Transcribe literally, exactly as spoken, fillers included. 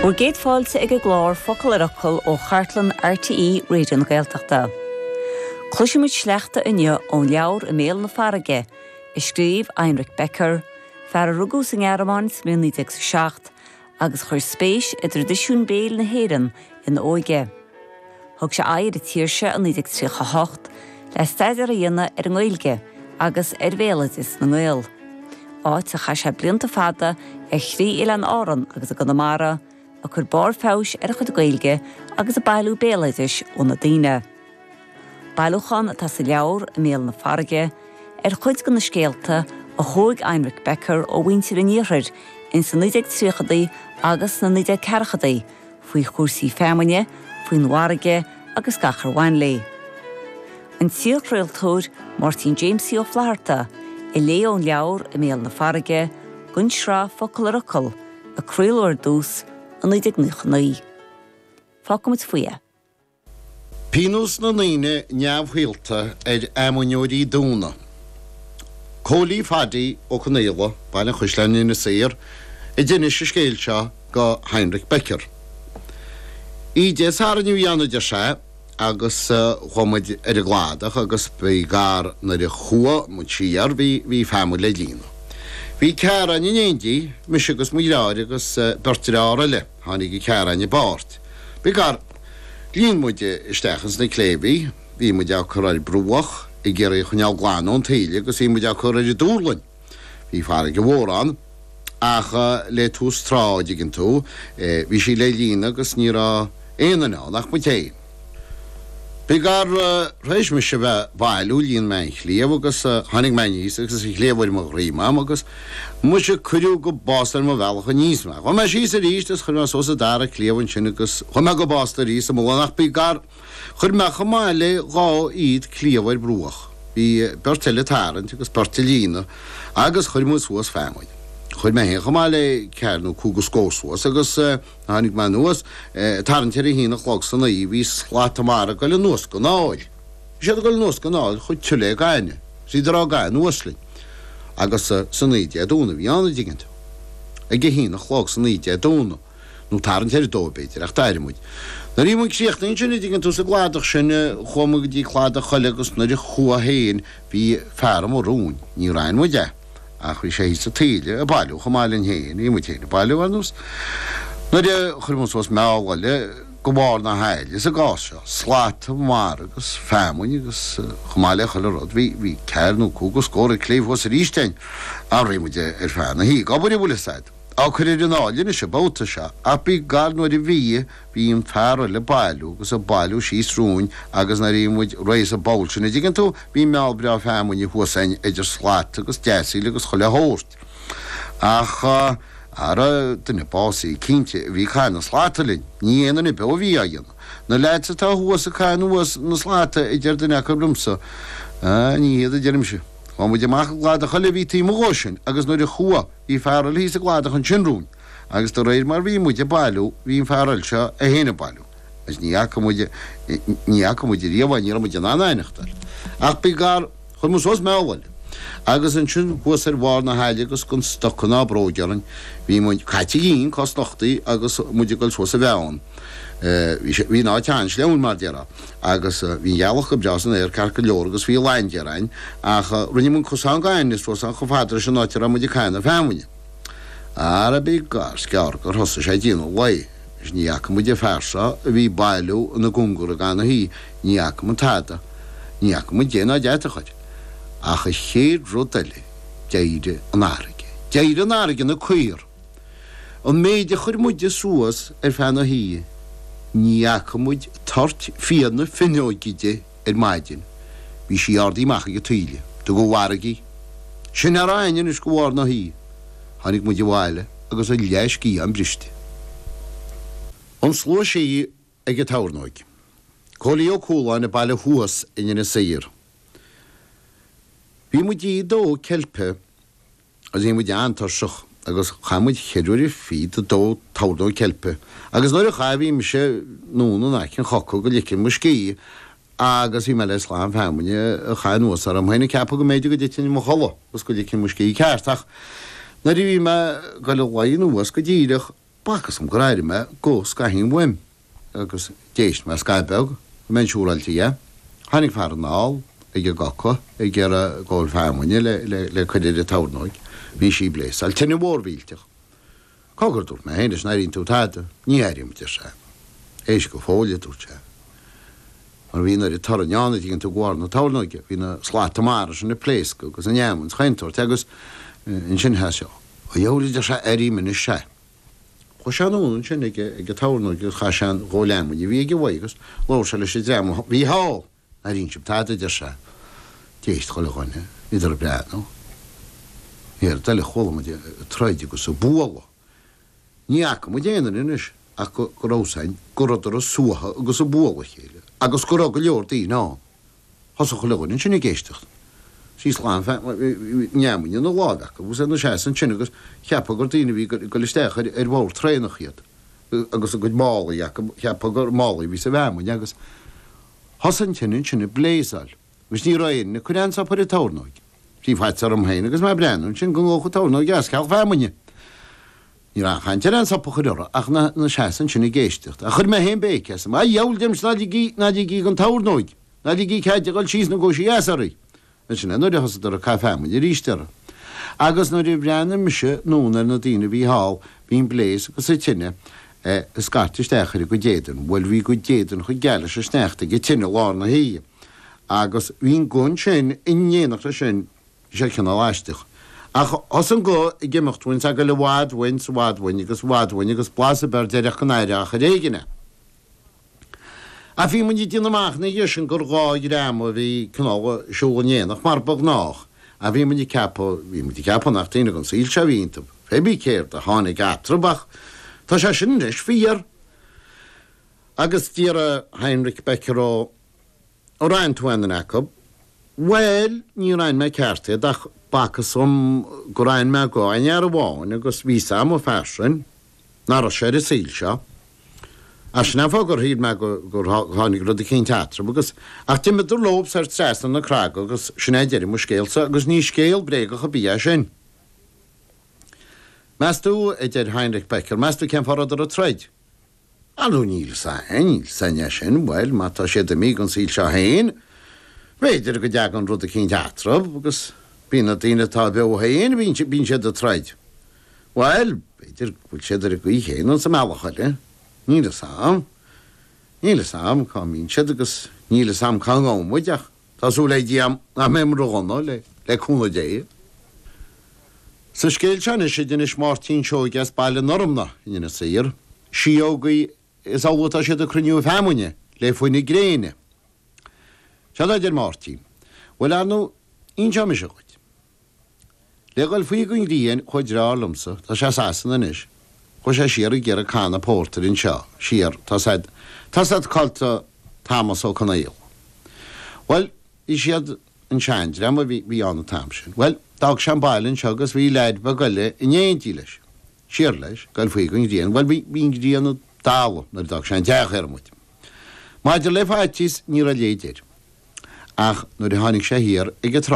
Bhur gcéad fáilte ag an gclár Focal ar Fhocal ó chartlann RTÉ Raidió na Gaeltachta. Cloisfimid sleachta inniu ón leabhar I mBéal na Farraige, a scríobh Heinrich Becker, fear a rugadh sa nGearmáin sa mbliain naoi déag is a seacht, agus chuir spéis i dtraidisiún béil na hÉireann ina óige. Thug sé aghaidh ar an tír seo i naoi déag tríocha a hocht le staidéar a dhéanamh ar an nGaeilge agus ar bhéaloideas na nGael, áit a chaith sé blianta fada ar thrí oileán Árann agus i gConamara, ag cur barr feabhais ar a chuid Gaeilge agus ag bailiú béaloidis ó na daoine. Bailiúchán atá sa leabhar I mBéal na Farraige ar chuid de na scéalta a thóg Heinrich Becker ó mhuintir an iarthair ins na naoi déag tríochadaí agus sna naoi déag ceathrachaidí faoi chúrsaí feamainne, faoin bhfarraige agus gach ar bhain léi. An t-iarchraoltóir Máirtín Jamesie Ó Flatharta a léigh ón leabhar I mBéal na Farraige don tsraith Focal ar Fhocal a craoladh ar dtús i naoi déag nócha naoi. Fágfaimid faoi é. Pionós na ndaoine neamhshaolta ar fheamainneoirí dúna. Cóilí Phaddy Ó Conaola, Baile an Chaisleáin, Inis Oírr, a d'inis an scéal seo go Heinrich Becker. Oíche Dé Sathairn a bhí ann a deir sé agus chuaigh muid ar an gcladach agus by gar nuair a chuaigh muid siar bhí bhí feamainn le líonadh. Bhí ceathrar againn in éindí, mise agus mo dheartháir agus beirt dearthár eile, tháinig an ceathrar againn i bpáirt. By gar líon muid isteach ins na cléibh í, bhí muid á cur ar bruach ag iarraidh a choinneáil glan ón taoille agus bhí muid á cur ar an dúrlainn. Bhí farraige mhór ann ach le tús trá, an dtuigeann tú, bhí sí le líonadh agus ní raibh aon duine ann ach muid féin. By gar, tar éis mise a bheith ag bailiú, líon mé an chliabh agus tháinig mé aníos agus an chliabh ar mo dhroim a'm agus muise cuireadh go básta ar mo bhealach aníos mé. Chuaigh mé síos arís agus chuir mé suas an dara cliabh ansin agus chuaigh mé go básta arís sa mullach ach by gar, Chuir mé chomh maith le dhá fhichead cliabh ar bruach. Bhí beirt eile ag tarraingt agus beirt ag líonadh agus chuir muid suas feamainn. Chuir mé féin chomh maith le ceathair nó cúig go scór suas agus tháinig mé anuas tarraingt ar a haon a chlog san oíche bhí slata mara ag goil anuas gon aill. Bhí siad ag goil anuas gon aill chomh tiubh le gaineamh. Is iad á gcaitheamh anuas linn. Agus san oíche Dé Domhnaigh a bhí ann, an dtuigeann tú. Ag a haon a chlog san oíche Dé Domhnaigh. nó tarraingt ar a dó b'fhéidir, ach d'éirigh muid. Nuair a bhí muid críochnaithe ansin, an dtuigeann tú, sa gcladach sin, chuaigh muid go dtí cladach eile agus nuair a chuaigh féin, bhí fear amuigh romhainn, níor aithin muid é, ach bhí sé thíos sa taoille ag bailiú chomh maith linn féin, bhí muid féin ag bailiú, ar nós. Nuair a chuir muid suas meall eile go barr na haille sa gcás seo, slata mara agus feamainn agus chomh maith le chuile rud, bhí, bhí ceathair nó cúig go scór ag cléibh thuas arís againn, ach bhí muid ar feadh na hoíche ag obair, an bhfuil fhios a'd. Á cur ar an aill anois an babhta seo, ach by gar nuair a bhí, bhí an fear eile ag bailiú agus ag bailiú síos romhainn agus nuair a bhí muid réidh sa bpoll sin, an dtuigeann tú, bhí meall breá feamainne thuas againn idir slata agus deasaíl agus chuile shórt. Ach, ara, duine básaithe cinnte a bhí ag caitheamh na slata linn, ní aon duine beo a bhí á dhéanamh. Na leaids atá thuas ag caitheamh anuas na slata, a deir duine acu liomsa. Ah, ní hiad, a deirimse. Chuaigh muid amach an cladach eile a bhí taobh amuigh dhó sin agus nuair a chuaigh, Bhí fear eile thíos sa gcladach ansin romhainn agus de réir mar bhí muid ag bailiú bhí an fear eile seo é féin ag bailiú agus ní fhaca muid, ní fhaca muid ariamh é, ní raibh muid in ann a aithneachtáil. Ach by gar, chuir muid suas meall eile agus ansin thuas ar bharr na haille agus gan stoca ná bróg orainn bhí muid caite dhínn, cosnochtaí agus muid ag dul suas an bheann. Bhí sé, bhí an áit an-sleamhain mar déarfá agus bhí an ghealach go breá san aer ceart go leor agus bhí laindéar ann ach rinne muid cosán gainimh suas ann chomh fada leis an áit a raibh muid ag caitheamh na feamainne. Ara by gar is gearr gur thosaigh sé ag déanamh lae is ní fhaca muid an fear seo a bhí ag bailiú ina gcóngar i gcaitheamh na hoíche, ní fhaca muid tada, ní fhaca muid dé ná deatach air. Ach an chéad rud eile d'éirigh an fharraige. D'éirigh an fharraige ina caor. An méid a chuir muide suas ar feadh na hoíche, ní fhaca muid toirt fia na finneoige di ar maidin. Bhí sí ardaithe amach ag an taoille. Thug an bhfarraige í. Sin a raibh againn anois go bharr na hoíche. Tháinig muid abhaile agus a leathsciathán briste. An Slua Sí ag an Tornóig. Cóilí Ó Cualáin ag baile thuas in Inis Oírr. Bhí muid ag dó ceilpe. Agus bhí muid an-tuirseach agus chaith muid cheithre uaire fichead ag dó tornóg ceilpe agus nuair a chaith bhí mise anonn in aice an choca go ligfinn mo scíth agus bhí mé le slám feamainne a chaitheamh anuas orm féin ag ceapadh go mb'fhéidir go dtitfinn i mo chodladh agus go ligfinn mo scíth ceart ach nuair a bhí mé ag goil a luí anuas go díreach B'fhacthas dom gur airigh mé guth scaithín uaim agus d'éist mé scaitheamh beag go mbeinn siúráilte dhe. Tháinig fear anall ag an gcoca ag iarraidh gabháil feamainne le le le cur ar an tornóig. Bhí sí ag bléasáil, tine mhór mhillteach. Cogar, dúirt mé féin leis, an airíonn tú tada? Ní airím, a deir sé. Éist go fóill, a dúirt sé. Mar bhí an oiread torainn ann, a dtuigeann tú, de bharr na tornóige. Bhí na slata mara sin ag pléascadh agus an fheamainn 's chaon tsórt agus ansin sheas sé. A dheabhail, a deir sé, airím anois é. Chuaigh sé anonn ansin ag an tornóig agus chaith sé an ghabhal fheamainne a bhí aige uaidh agus labhair sé leis an dream a bhí thall. An airíonn sibh tada, a deir sé. D'éist chuile dhuine, bhíodar ag breathnú. An oiread eile chuala muid ag troid agus ag bualadh. Ní fhaca muid aon duine anois ach go raibh fhios a'inn go rabhadar ag suaitheadh agus ag bualadh a chéile agus go raibh go leor daoine ann. Thosaigh chuile dhuine ansin ag éisteacht. Bhí slám feamainne ina láimh acu agus ina seasamh ansin agus cheapfá gur daoine a bhí ag dul isteach ar bhord traenach iad agus a gcuid málaí acu, cheapfá gur málaí a bhí sa bhfeamainn agus thosaigh an tine ansin ag bléasáil agus ní raibh éinne ag cur aon stop ar an tornóig. Bhí faitíos orm féin agus mé ag breathnú ansin go ngabhfadh an tornóig as ceal feamainne. Ní raibh aon chaint ar aon stop a chur uirthi ach ina seasamh ansin ag éisteacht. Ach chuir mé féin béic asam. A dheabhail, deirimse, ná ligí, ná ligí don tornóig, ná ligí cead di dhul síos nó gabhfaidh sí as oraibh. Ansin é nuair a thosaíodar ag caitheamh feamainne arís uirthi. Agus nuair a bhreathnaigh mise anonn ar na daoine a bhí thall, bhí an bléas agus an tine ag scairt isteach ar a gcuid éadain. Bhuel, bhí a gcuid éadain chomh geal leis an sneachta ag an tine i lár na hoíche. Agus bhí an guth ansin in éineacht leis sin, bhí sé cineál aisteach. Ach thosaigh an guth ag imeacht uainn 's ag goil i bhfad uainn 's i bhfad uainn agus i bhfad uainn agus blas ar bith air déarfadh go n-aireofá achar éigin é. Ach bhí muid ag déanamh amach ina dhiaidh sin gur dhá dhream a bhí cineál ag siúl in éineacht mar ba ghnách. Ach bhí muid ag ceapadh, bhí muid ag ceapadh nach daoine den saol seo a bhí iontu, pé bí céard a tháinig eatarthu ach tá sé sin anois fíor. Agus d'iarr Heinrich Becker ó Ar aithin tú aon duine acu? Bhuel, níor aithin mé ceart iad ach b'fhacthas dhom gur aithin mé guth aon fhear amháin agus bhí 'fhios a'm an fear sin, nach raibh sé ar an saol seo. Ach sin é an fáth gur shíl mé gur tháinig rud eicínt eatarthu agus, ach d'imíodar leo soir trasna na craga agus sin é deireadh mo scéalsa agus ní scéal bréagach ar bith é sin. Meas tú, a deir Heinrich Becker, meas tú cén fáth a rabhadar ag troid? Ar ndóigh níl 'fhios a'inn, níl 'fhios a'inn é sin, bhuel, má tá siad imithe den saol seo féin, b'fhéidir go dtagann rud eicínt eatarthu agus bíonn na daoine atá beo féin, bíonn, bíonn siad ag troid. Bhuel, b'fhéidir go bhfuil siad ar an gcaoi chéanna sa mbealach eile, níl 'fhios a'm, níl 'fhios a'm cá mbíonn siad agus níl 'fhios a'm cá ngabhann muid ach tá súil ag Dia a'm nach mbeidh muid ródhona, le, le cúnamh Dé. Sa scéal seo anois a d'inis Máirtín Seoige as Baile na Lorcna in Inis Oírr, Síógaí, is amhlaidh atá siad ag cruinniú feamainne le fuinneamh gréine. Seo a deir Máirtín, Bhuel, ar ndóigh, inseoidh mise dhuit. Le dhul faoi don ghrian chuaigh deartháir liomsa, tá sé i Sasana anois, chuaigh sé siar ag iarraidh canna pórtair anseo, siar, tá said, tá said cá tá Tomás Ó Conaola. Bhuel, bhí siad, an seandream a bhí, bhí ann an t-am sin. Bhuel, d'fhág sé an baile anseo agus bhí leaid beag eile in éindí leis. Siar leis, goil faoi don ghrian. Bhuel, bhí, bhí an ghrian ag dalladh nuair a d'fhág sé an teach ar muid. Maidir le faitíos, ní raibh a leithéid air. Ach nuair a tháinig sé thiar ag an trá,